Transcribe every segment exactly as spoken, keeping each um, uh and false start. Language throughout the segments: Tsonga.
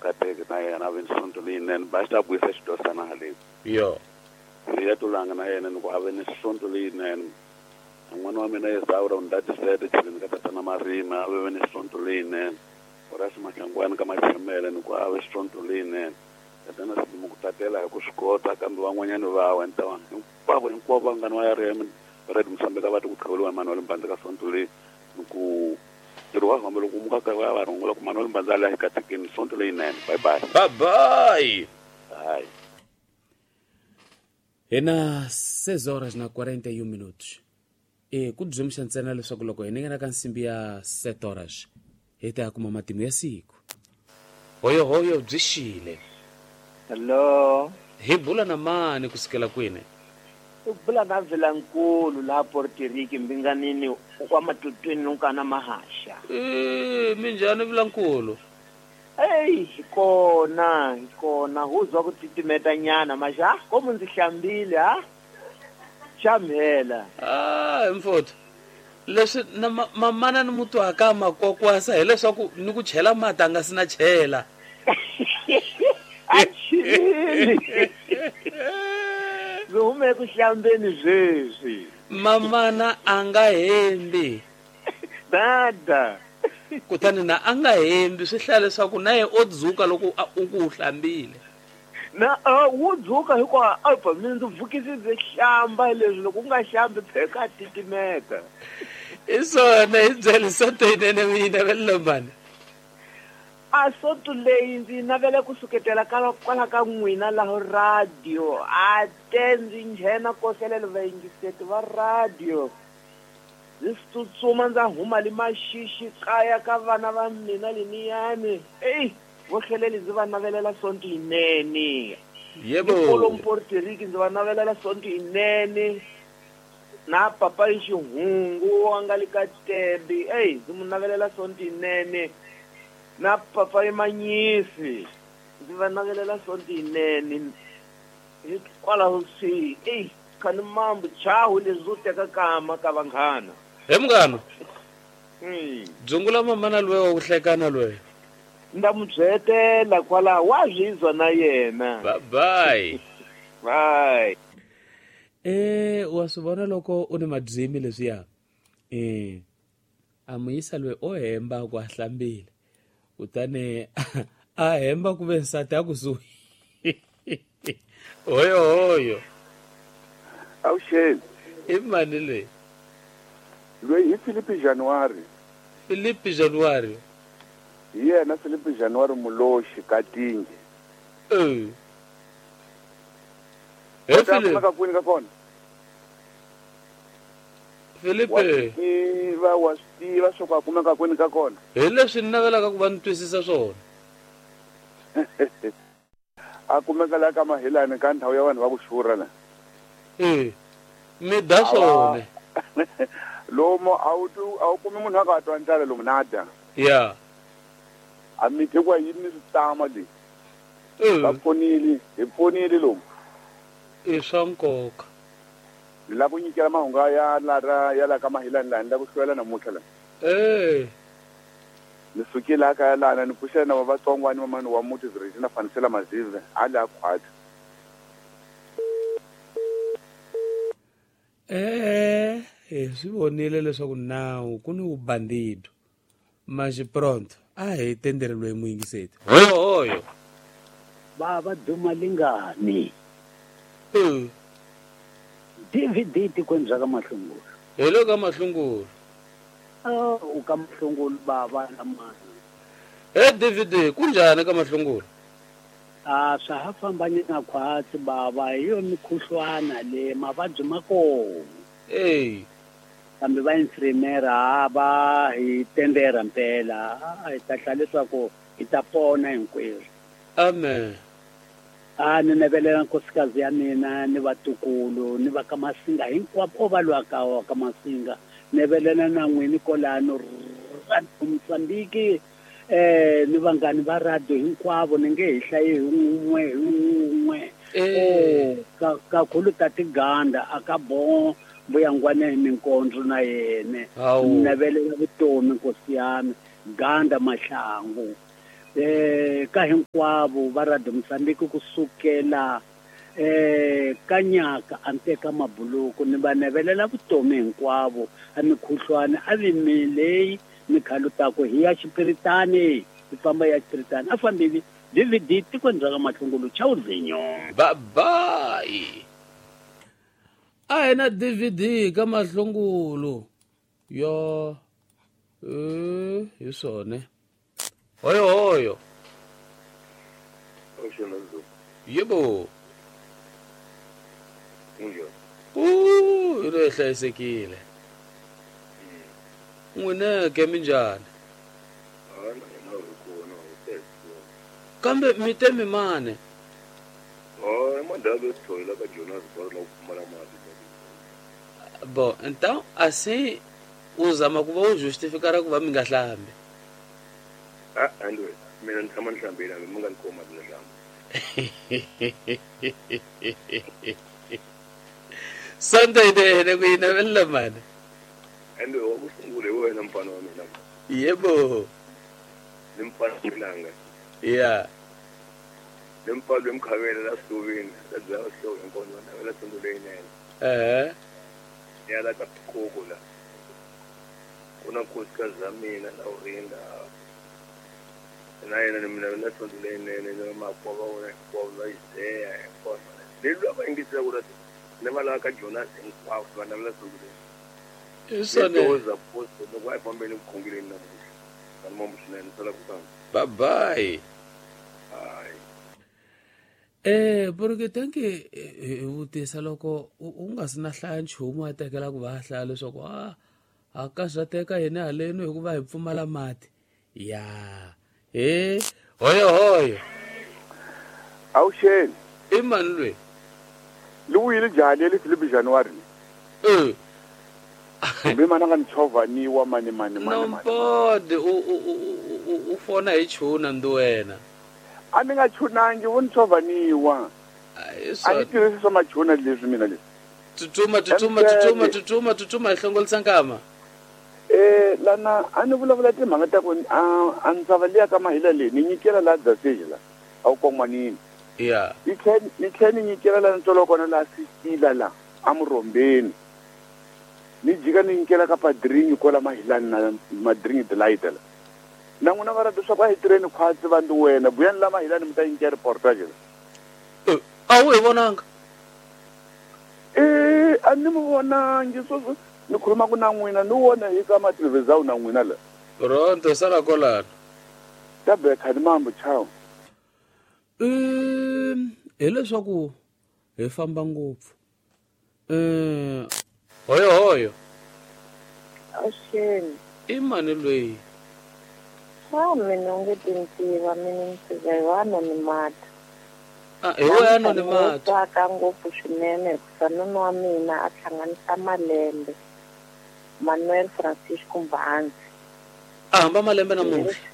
kateke na yena a ve ni sonto leyinene ba xi ta vuyisa xidosana haleni. Yo. Siya tulanga na yena ni ku a ve ni sonto leyinene. N'wana wa mina Esaura u ni tatisele tlheleni ka tatana Marina a ve ni sonto leyinene. Horace Mahlangwana ka Machemele ni ku a ve sonto leyinene. Tatana Silimo ku tatela hi ku swi kota kambe van'wanyana va wa ni ta hinkwavo hinkwavo vanghana va ya ri Red Musambeka va ti ku qhaveliwa Manuel Mbanza ka sonto leyi ni ku ntirho wa hamba loko muka ka va va rhungula ku Manuel Mbanza la hi katekeni sonto leyinene. Bye bye. Bye bye. Bye. Hina seis horas na quarenta e um minutos. E ku byemisa ntsena leswaku loko hi ningana ka nsimbi ya sete horas hi ta kuma matimu ya siku. Hoyo hoyo byi xile. Hello. Hi bula na mani kusukela kwini? U bula na Vilankulu laha Puerto Rico mbinganini wa matutwini nunkana mahasha. Eh, minjhani Vilankulu? Hey, hi kona, hi kona huzwa ku titimeta nyana maxa komu ndzi hlambile ha? Xamhela. Ah, mfowethu. Leswi na mamana ni mutwaka makwakwasa hileswaku ni ku chela mati a nga si na chela. A chilini. Ndzi hume ku hlambeni sweswi. Mamana a nga hembi. Dada. Kutani na a nga hembi swi hlaya leswaku na yena o dzuka loko u ku u hlambile. Na wu dzuka hikuva a mina ndzi vukisi ndzi hlamba leswi loko u nga hlambi pheka titimeta. I swona hi byele sonto yinene mina velomani. A sonto leyi ndzi navela ku suketela kwala ka n'wina laha radio a te ndzi nghena koselela vayingiseti va radio. Ndzi tsutsuma ndza huma le maxixi kaya ka vana va mina leniyani. Eyi vo hleleli ndzi va navelela sonto yinene. Yebo. Kolo Puerto Rico ndzi va navelela sonto yinene. Na papa Xihungu a nga le ka Tembe. Eyi ndzi mu navelela sonto yinene. Na papa Manyisi ndzi va navelela sonto yinene. Hikwalaho swi eyi khani mambu chahu leswi wo teka kama ka vanghana. He munghana. Mm. Dzungula mamana loyi wa ku hlekana loyi. Nda mu byetela kwalaho wa zwizwa na yena. Bye bye. Bye. Eh wa swi vona loko u ni madyimi leswiya. Eh a muyisa loyi o hemba ku a hlambile. Kutani a hemba ku ve nsati a kusuhi. Hoyo hoyo. Awuxeni. I mani leyi? Loyi hi Philippe January. Philippe January. Hi yena Philippe January Muloxi Katingi. Eh. He Philippe. Ka kwini ka kona? Philippe. Wa tiva wa tiva swo ka kumeka kwini ka kona. Hi leswi ni navelaka ku va ni twisisa swona. A kumeka la ka Mahilani ka ndhawu ya vanhu va ku xurha la. Eh. Mi da swona. Lomo a wu a wu kumi munhu a ka twa ndlala lomu na dya. Yeah. A mi tekwa yini ni switama leyi. Eh. Va pfunile, hi pfunile lomu. I swa nkoka. Ni lava ku nyikela mahungu ya la ya la ka Mahilani laha ni lava ku hlwela namuntlha la. Eh. Ni sukile la kaya lana ni pfuxela na vatsongwani mamani wa muti Regina Fanisela Mazive a la khwatsi. Eh, hi swi vonile leswaku nawu ku ni vubandido. Maxi pronto a hi tendere loyi muyingiseti. Hoyo hoyo. Baba duma lingani. Eh. D V D tikweni bya ka Mahlungulu. Hi le ka Mahlungulu. Ah, u ka Mahlungulu baba lamani. He D V D kunjhani ka Mahlungulu? A swa ha fambanyana khwatsi baba hi yo mikhuhlwana le mavabyi ma kona. Eh. Kambe va infirmera va hi tendera mpela hi ta hla leswaku hi ta pona hinkwerhu. Amen. A ni navelela nkosikazi ya mina ni vatukulu ni va ka Masinga hinkwavo va lwaka wa ka Masinga. Navelela na n'wini kolano Mozambique eh ni vanghani va radio hinkwavo ni nge hi hlayi hi un'we hi un'we. Eh kakhulu Tatiganda a ka bon mbuyangwana hi minkondzo na yena. Ni navelela vutomi nkosi yami Ganda Mahlangu. eh ka hinkwavo va Radio Mozambique kusukela eh kanyaka anteka mabuluku ni va navelela vutomi hinkwavo a mikhuhlwane a vimilei mikhalutako hi ya xipiritani hi famba ya xipiritani a fambile D V D tikweni ra ka Mahlungulu chauzinyo bye bye a hi na D V D ka Mahlungulu yo eh hi swona hoyo hoyo yebo Uh, i hlayisekile n'wina ke minjhani kambe mi te mi mane bo então assim u zama ku va u justificar ku va mi nga hlambi ah andwe mina ni tshama ni hlambile hambi mi nga ni koma ni hlamba Sunday day ne ku yi navelela mani andwe wa ku sungula hi wena mfana wa mina yebo ni mfana milanga ya ni mfana emkhavela la sitovini la byala hloko hinkwavo va navela sonto leyinene eh ya la ka koko la ku na nkosikazi ya mina na urinda na yena ni mina na sonto leyinene na makwava vona hinkwavo va Isaiah hinkwavo leyi va yingisela ku ni va lava ka Jonas hinkwavo va navela sonto leyi hi swona post loko a hi fambeni vukhongeleni namuntlha va ni mambo swinene sala ku tanga bye bye hayi eh porque tanki hi vutisa loko u nga si na hlaya nchumu a tekela ku va hlaya leswaku a a ka swa teka hina haleni hikuva hi pfumala mati ya he hoyo hoyo awuxeni i mani lweyi li vuyile njhani le Philip January eh kumbe mana nga ni chovhaniwa mani mani mani nompode u u u fona hi chuna ndi wena a ni nga chunangi vo ni chovhaniwa a ni tirhisi swa machuna leswi mina leswi tsutsuma tsutsuma tsutsuma tsutsuma tsutsuma hi hlongolisa nkama eh lana a ni vulavula timhaka ta ku a ndzava liya ka mahila leyi ni nyikela laha Dzaseli la a wu kon'wanini ya ni tlhe ni tlhe ni nyikela laha ntswalo kona laha Sisila la a Murhombeni ni jika ni nyikela ka padringi kwala mahilani na madringi delight la na n'wina va rata leswaku a hi tirheni khwatsi va ndi wena buyani la mahilani mi ta nyikela reportage la a wu hi vonanga eh a ni mi vonangi sweswo ni khulumaka na n'wina ni wona hi ka matelevizawu na n'wina la pronto sala kolano ta beka ni mambo chao um hileswaku hi famba ngopfu um hoyo hoyo Awuxeni i mani lweyi swa mina u nge tintiva mina ni hi wa anonymata ah hi wa anonymata tsaka ngopfu swinene hikuva nuna wa mina a hlanganisa malembe Manuel Francisco Mbanzi a hamba malembe namuntlha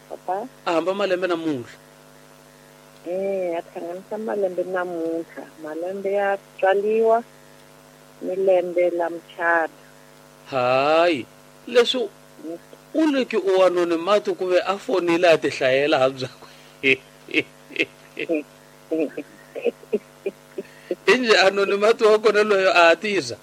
papa a hamba malembe namuntlha eh a hlanganisa malembe namuntlha malembe ya tswaliwa ni lembe la muchato hayi leswi u le ki u anonymata ku ve a fonile a ti hlayela ha byakwe inje anonymata wa kona loyo a tisa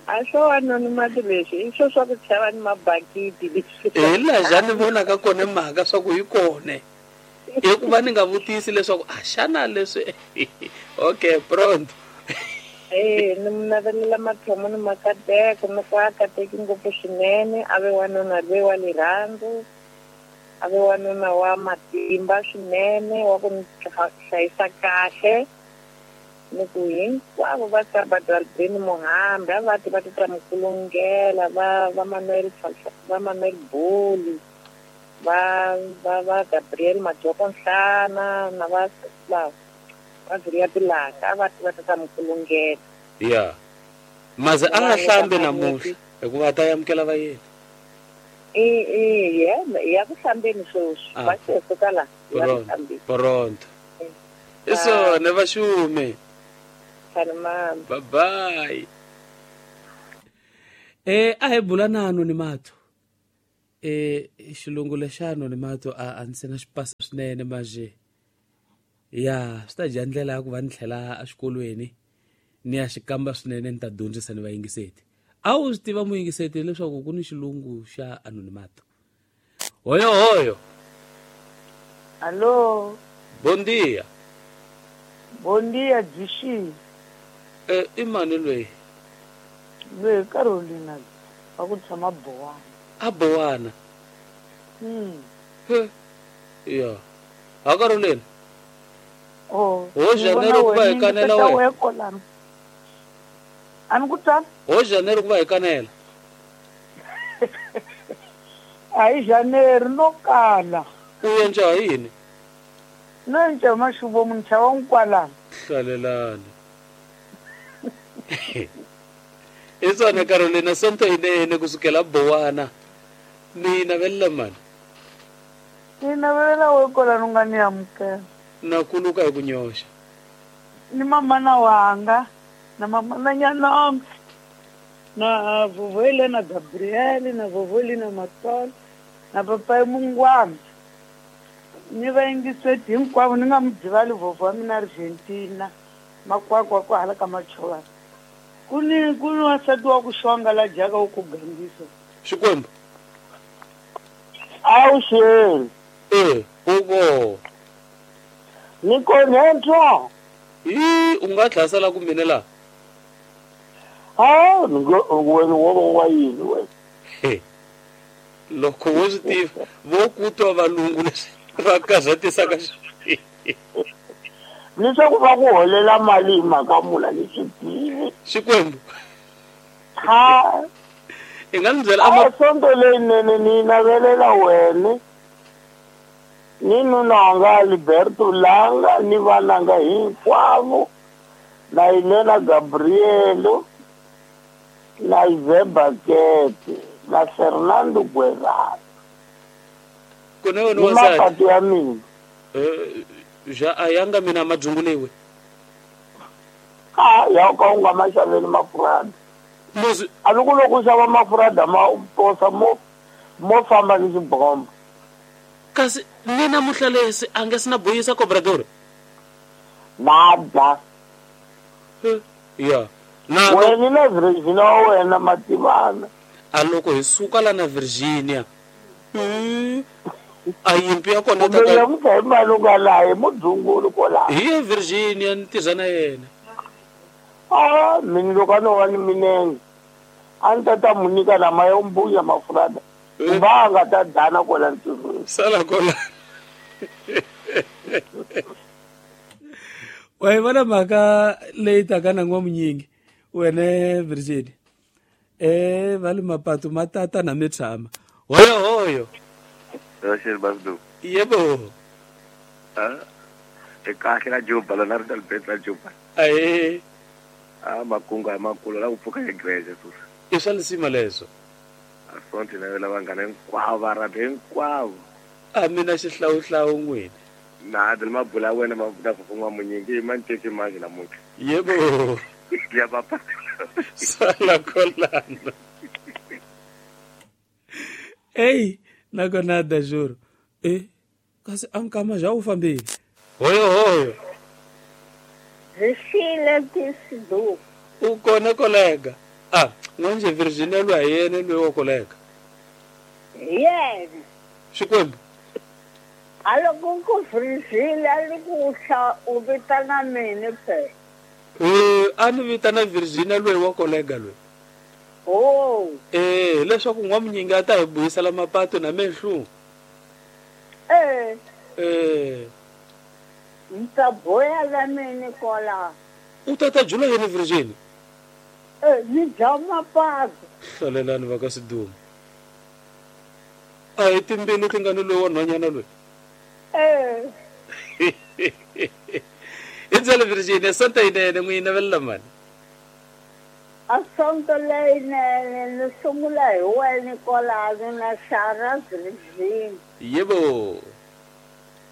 a swo anonymata leswi i swo swa ku chava ni mabakiti leswi hi laha ni vonaka kona mhaka swa ku hi kone hikuva ni nga vutisi leswaku a xana leswi okay pronto eh ni mi navelela mathomo ni makateko ni ku a kateki ngopfu swinene a ve wanuna loyi wa rirhandzu a ve wanuna wa matimba swinene wa ku ni hlayisa kahle ni ku hinkwavo va Sabadalbeni Muhambi a va ti va ti ta Mukulungela va va Manuel va Manuel Boli va va va Gabriel Majoko Nhlana na va va va Zulia Tilanga a va ti va ti ta Mukulungela ya maze a nga hlambi namuntlha hikuva ta amukela va yena e e ya ya ku hlambeni sweswi va se suka la ya ku hlambeni pronto i swona va xume Salman bye bye eh a hi bula na anonymata E xilungu lexa anonimato a a ndzi se na xi pasa swinene manje. Ya swi ta dya ndlela ya ku va ni tlhela exikolweni ni ya xi kamba swinene ni ta dyondzisa ni vayingiseti. A wu swi tiva muyingiseti leswaku ku ni xilungu xa anonimato. Hoyo hoyo. Alô. Bom dia. Bom dia, Dzishi. Eh, i mani loyi? Loyi Carolina va ku tshama Bowana. A Bowana. Mm. He. Ya. Ha Carolina. Oh. Ho Janeiro ku va hi kanela wena. A ni ku twa? Ho Janeiro ku va hi kanela. A hi Janeiro no kala. U endla yini? No endla maxuvo muntsha wa nkwalano. Hlalelani. I swona Carolina sonto yinene kusukela Bowana. Ni navelela mani? Ni navelela we kwalano nga ni amukela. Na kuluka hi ku nyoxa. Ni mamana wanga na mamana nyana na vovó na Gabriele na vovó na Matolo na papai Mungwana. Ni vayingiseti hinkwavo ni nga mi byivali vovó wa mina Argentina makwakwa ku hala ka Machovana. Ku ni ku ni wansati wa ku xonga la dyaka wu ku gangisa. Xikwembu. A wu xeli. Eh, uko. Ni konentwa. Hi, u nga dlasela ku mina la. Ha, ni ngo wena wo wa yini wena? Loko wo swi tiva vo ku twa valungu leswi va karhatisaka leswaku va ku holela mali hi mhaka mula ni swi tivi. Xikwembu. Ha. I nga ni byela a sonto leyinene ni navelela wena ni nuna wanga Alberto Langa ni vananga hinkwavo na Elena Gabrielo na Ive Bakete na Fernando Guevara. Kone wena wansati. Mapatu ya mina. Eh, ja a yanga mina madzunguliwe. Ha, ya ka u nga ma xaveli mafurada. Muzi a loko loko u xava mafurada ma posa mo mo famba ni xibombo. Kasi ni namuntlha lesi a nge sina buyisa cobrador. Nada. Ya. Na wena na Virginia wena mativana. A loko hi suka la na Virginia. Mm. A yimpi ya kona ta ka mutha hi malunga la hi mudzungulu kola. Hi Virginia ni tirha na yena. Ah, mina loko a no va ni minenge a ni ta ta mu nyika lama yo mbuya mafurada. Va nga ta dana kola ntirhweni. Sala kola. Wa yi vona mhaka leyi taka na n'wamunyingi wena Virginia. Eh, va le mapatu ma tata na mi tshama. Hoyo hoyo. Rachel Basdu. Yebo. Ah. E kahle la Juba la na Albert la Juba. Aye. Ah, makunga makulu la ku pfuka egreje susa. I swa lisima leswo. A sonti na la vanghana hinkwavo va rhandza hinkwavo. A mina xihlawuhlawu n'wina. Na dil mabula wena ma na ku munyingi ma nteki manje namuntlha. Yebo. Ya papa. Sala kolana. Ei, nakona da juro. Eh, kasi ankama já u fambile. Hoyo hoyo. Zishile tisidu. U kona kolega. Ah, n'wanje Virginia lwa yena loyi wa kolega. Yena. Xikwembu. Aloko ku Virginia li ku hla u vitana mina phela. Eh, a ni vitana Virginia loyi wa kolega loyi. Oh. Eh, leswaku n'wamunyingi a ta hi buyisela mapato na mehlu. Eh. Eh. Ni ta boya la mina kola. U ta ta jula yini Virginia? Eh, ni dya mapato. Hlalelani va ka Sidumo. A hi timbilu ti nga ni loyi wa nhwanyana loyi. Eh. I byele Virginia sonto yinene n'wi navelela mani. A sonto leyinene ni sungula hi wena kwalano na Sarah Virginia. Yebo.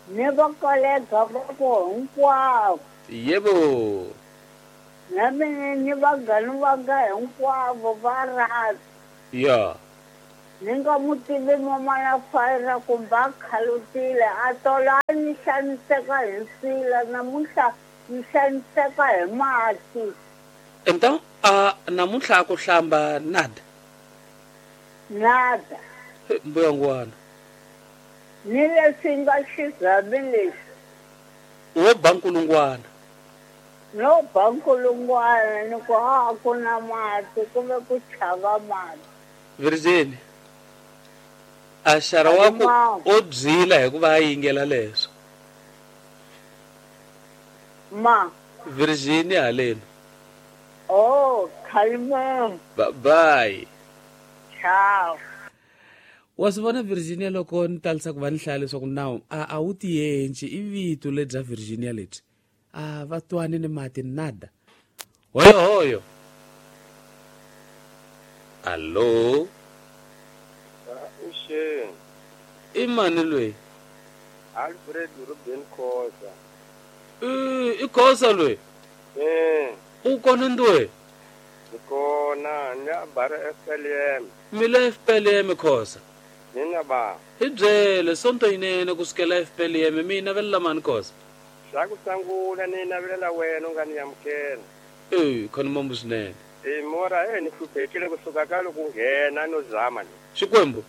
Ni va kolega va ku hinkwavo. Yebo. Na mina ni vanghana va nga hinkwavo va rhandza. Ya. Ni nga mu tivi mamana Fayira kumbe a khalutile a tola a ni xaniseka hi nsila namuntlha ni xaniseka hi mati. Então a namuntlha a ku hlamba nada. Nada. Mbuyangwana. Ni leswi nga xizami lexi. Wo ba nkulungwana. No ba nkulungwana ni ku a ku na mati kumbe ku chava mati. Virginia. A xara wa ku o byila hikuva a yingela leswo. Ma. Virginia haleni. Oh, kalma. Bye bye. Ciao. Wa swi vona Virginia loko ni talisa ku va ni hlaya leswaku nawu a a wu tiyenci i vito lebya Virginia lebyi. A va twani ni mati nada. Hoyo hoyo. Allo. Uxeni. I mani loyi? Alfred Ruben Khoza. I i Khoza loyi? Eh. U kona ndwe? Ni kona, ni a bara F P L M. Mi le F P L M Khoza? Mina ba. Hi byele sonto yinene ku sukela F P L M mi navelela mani Khoza? Xa ku sungula ni navelela wena u nga ni amukela. Eh, khona mambo swinene. Eh, mora eh ni hluphekile kusuka ka loko nghena no zama ni. Xikwembu?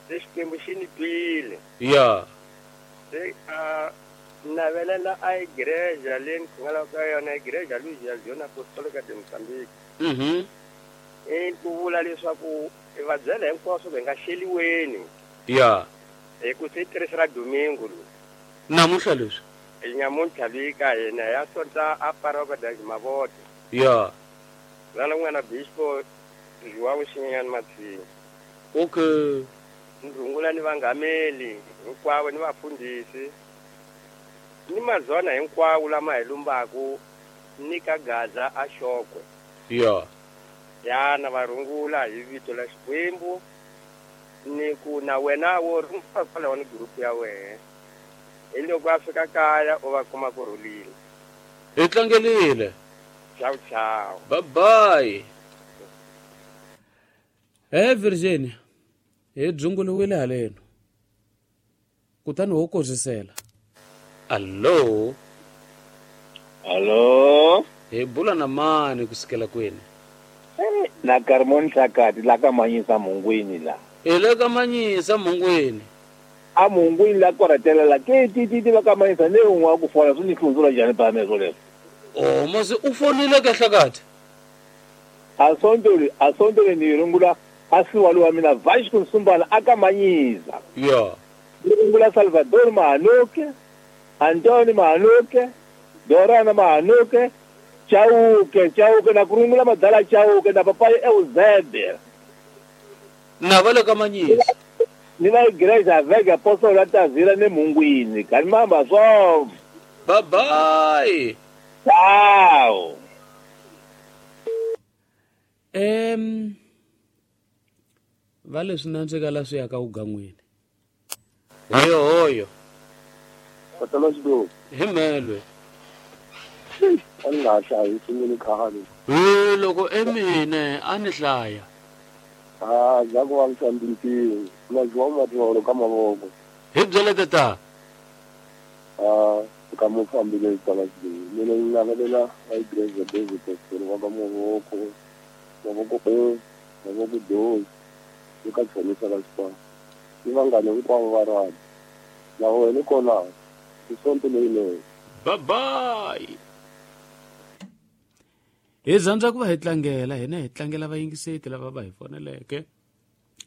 Se Xikwembu xi ni twile. Ya. Se a navelela a igreja leyi ni khongelaka ka yona igreja Luzia Zion Apostolica de Mozambique. Mhm. I ku vula leswaku i va byela hinkwaswo va nga xeliweni. Ya. Hi ku se tirhisa ra domingo lowu. Namuntlha leswi? I nyamuntlha leyi ka hina ya sonta a paroka da Mavoto. Ya. Lana n'wana Bishop João Xinyenyani Matsini. Okay. Ni rungula ni vangameli hinkwavo ni vafundhisi ni mazona hinkwawo lama hi lumbaku ni ka Gaza a Xokwe. Ya. Ya na va rungula hi vito la Xikwembu ni ku na wena wo rungula kwalaho ni group ya wena. Hi loko a fika kaya u va kuma ku rhulile. Hi tlangelile. Ciao ciao. Bye bye. Eh Virginia. Hi dzunguliwile haleno. Kutani ho kozisela. Allo. Allo. Hi bula na mani kusukela kwini? Eh, na Carmon Hlakati la ka Manyisa Mungwini la. Hi le ka Manyisa Mungwini. A Mungwini la koratela la ke ti ti ti va ka Manyisa ne un'wa ku fola swi ni hlundzula njhani pa meswo leswo. Oh, mase u fonile ka Hlakati. A sontoli, a sontoli ni rungula a siwalo wa mina Vasco Nsumbana aka Manyisa. Ya. Ni rungula Salvador Mahanuke, Antoni Mahanuke, Dorana Mahanuke, Chauke, Chauke na kurungula madala Chauke na papai Eusébio. Na va le ka Manyisa. Ni la igreja Vega Apóstolo Tavira ne Mungwini. Kanimamba swo. Bye bye. Ciao. Em va leswi nandzika la swi ya ka ugan'wini. Hoyo hoyo. Patala xido. Hi melwe. A ni nga ha hlayi sungule khale. He loko emine a ni hlaya. Ah, za ku vavisa mbilutini. Na João Matolo ka mavoko. Hi byele tata. Ah, ka mo fambile tala xido. Mina ni navelela a igreja David Pastor wa ka mavoko. Mavoko e, mavoko do. Ni ka tshonisa la xikwembu. Ni vanghana hinkwavo va rhandza. Na wena kona. I sonto leyinene. Bye bye. Hi rhandza ku va hi tlangela hina hi tlangela vayingiseti lava va hi foneleke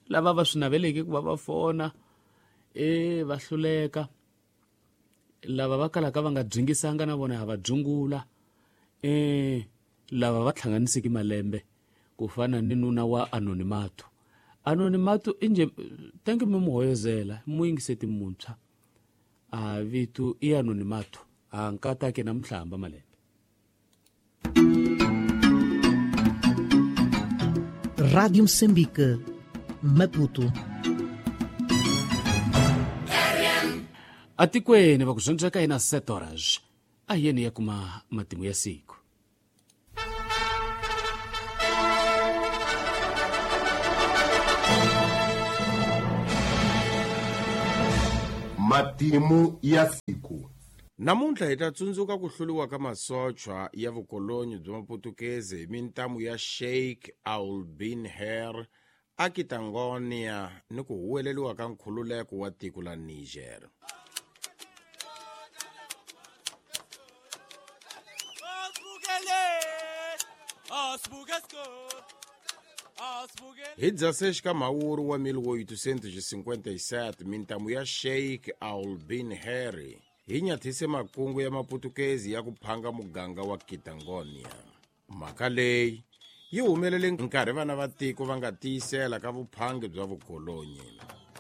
lava va swi naveleke ku va va fona e va hluleka lava va kalaka va nga dyingisanga na vona ha va dzungula e lava va hlanganiseke malembe ku fana ni nuna wa Anonimato. Anonimato inje thank you mi muhoyozela muyingiseti muntshwa a vito i Anonimato a nkatake na mhlamba malembe. Rádio Moçambique, Maputo. Atikweni va ku dyondzeka hina sete horas a yeni ya kuma matimu ya siku. Matimu ya siku. Namuntlha hi ta tsundzuka ku hluriwa ka masochwa ya vukolonyi bya Maputukezi hi mintamu ya Sheikh Ould Bin Her Akitangonia ni ku huweleriwa ka nkhululeko wa tiko la Niger. Hi dezesseis ka Mhawuri wa mil oitocentos e cinquenta e sete, mintamu ya Sheikh Ould Bin Her hi nyathise makungu ya Maputukezi ya ku phanga muganga wa Kitangonia. Mhaka leyi yi humelele nkarhi vana va tiko va nga tiyisela ka vuphangi bya vukolonyi.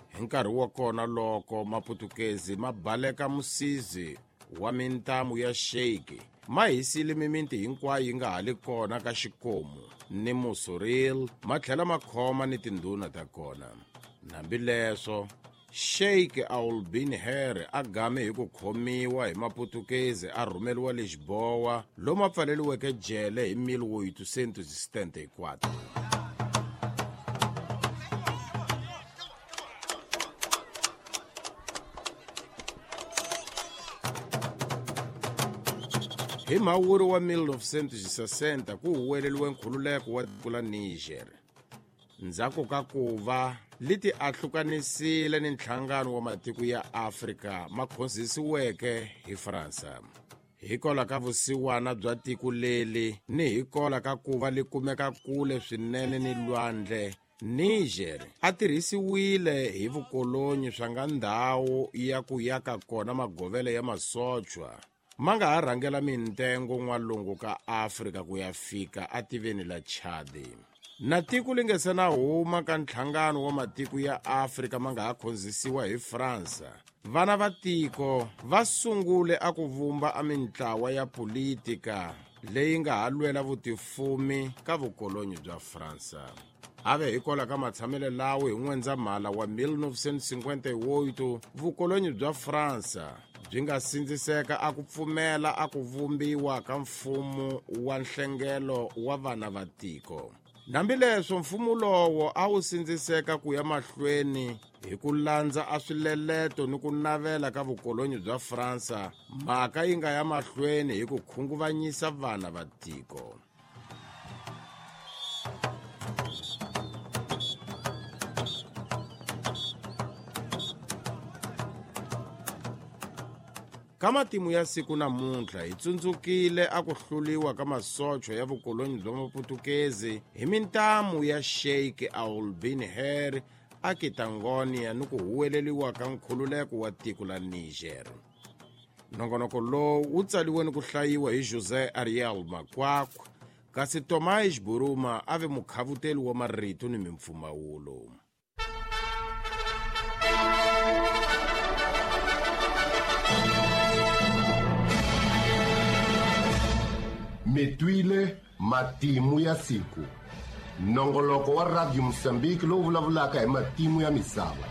Hi nkarhi wa kona loko Maputukezi ma baleka musizi wa mintamu ya Sheikh, ma hisile mimiti hinkwayo yi nga ha li kona ka xikomu ni Musuril, ma tlhela ma khoma ni tindhuna ta kona. Hambileswo, Sheikh Ould Bin Her a game hi ku khomiwa hi Maputukezi a rhumeriwa Lisboa lomu a pfaleriweke jele hi mil oitocentos e setenta e quatro. Hi Mhawuri wa mil novecentos e sessenta ku huweleriwe nkhululeko wa tiko la Niger. Ndzhaku ka ku va leti ahlukanisile ni nhlangano wa matiko ya Afrika ma khonzisiweke hi Fransa. Hikwalaho ka vusiwana bya tiko leli ni hikwalaho ka ku va li kumeka kule swinene ni lwandle, Niger a tirhisiwile hi vukolonyi swa nga ndhawu ya ku yaka kona magovelo ya masochwa ma nga ha rhangela mintengo n'walungu ka Afrika ku ya fika ativeni la Chad. Na tiko li nga se na huma ka nhlangano wa matiko ya Afrika ma nga ha khonzisiwa hi Fransa, vana va tiko va sungule a ku vumba a mintlawa ya politika leyi nga ha lwela vutifumi ka vukolonyi bya Fransa. Ave hikwalaho ka matshamelo lawo hi N'wendzamhala wa mil novecentos e cinquenta e oito, vukolonyi bya Fransa byi nga sindziseka a ku pfumela a ku vumbiwa ka mfumo wa nhlengelo wa vana va tiko. Hambileswo, mfumo lowo a wu sindziseka ku ya mahlweni hi ku landza a swileleto ni ku navela ka vukolonyi bya Fransa, mhaka yi nga ya mahlweni hi ku khunguvanyisa vana va tiko. Ka matimu ya siku namuntlha hi tsundzukile a ku hluriwa ka masochwa ya vukolonyi bya Maputukezi hi mintamu ya Sheikh Ould Bin Her Akitangonia ni ku huweleriwa ka nkhululeko wa tiko la Niger. Nongonoko lowu wu tsariwe ni ku hlayiwa hi José Ariel Makwakwa, kasi Tomás Buruma a ve mukhavuteli wa marito ni mimpfumawulo. Mitwile matimu ya siku. Nongoloko wa Radio Mozambique lowu vulavulaka hi matimu ya misava.